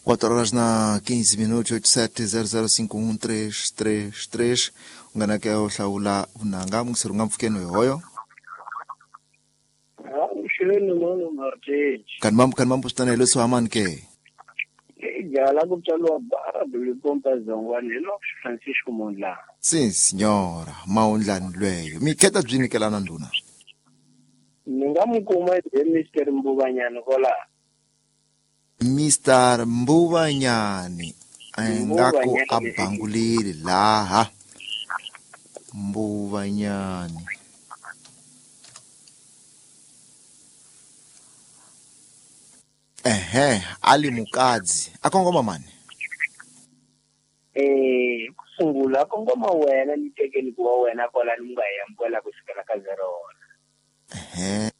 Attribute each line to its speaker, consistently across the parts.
Speaker 1: 4 horas na 15 minutos, 87005133. U nga na ke u hlawula vunanga mungiseri u nga mpfukeni hoyo.
Speaker 2: Avuxeni mano Martin.
Speaker 1: Kani mambo kani mambo switana hi leswi hamani ke.
Speaker 2: Jala ku tswariwa bara Bulipompa Zongwani hi Lopes Francisco Mondlane.
Speaker 1: Si signora maundlani lweyo. Mi kheta byi nyikelana ndhuna.
Speaker 2: Ni nga mu kuma hi Mr Mbuvanyani kwala.
Speaker 1: Mr Mbuvanyani ingaku a bangulile laha. Mbuvanyani. Ehe, ali mukadzi. Akongoma mani?
Speaker 2: Ku sungula akongoma wena ni tekeni ku wa wena kwala ni nga yamukela ku sukela ka 0.
Speaker 1: Ehe.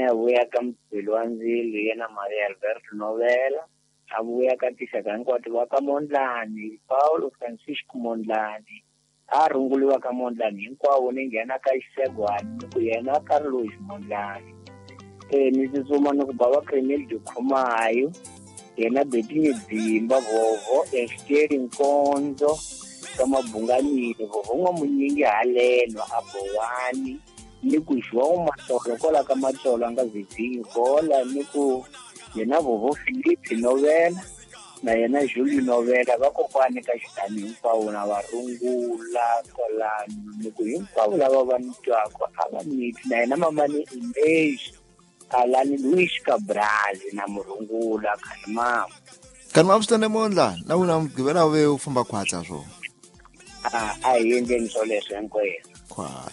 Speaker 2: A vuya ka Mubeli wa Ndzilo yena Maria Alberto Novela, a vuya ka tixaka hinkwato va ka Mondlane, Paulo Francisco Mondlane, a runguliwa ka Mondlane hinkwavo ni nghena ka Xisegwani ni ku yena Carlos Mondlane. Ni tsutsuma ni ku bava Cremel de Khumayo, yena Betini Dzimba, Vovo, Esteri Nkonzo, ka Mabunganile, Vovo N'wamunyingi haleno, a Bowani, ni ku João Matsolo kola ka Matsolo a nga Virginia kola ni ku yena Vovo Philip Novela na yena Julio Novela vakokwani ka xitani hinkwavo na varungula kolano ni ku hinkwavo lava va ni twaka a va niti na yena mamani Inês Alani Luis Cabral na murungula khani mama.
Speaker 1: Khani mama swi mondla na wena mugqivela ve u famba khwatsa swo.
Speaker 2: A hi endleni swoleswo hinkwenu.
Speaker 1: Khwatsa.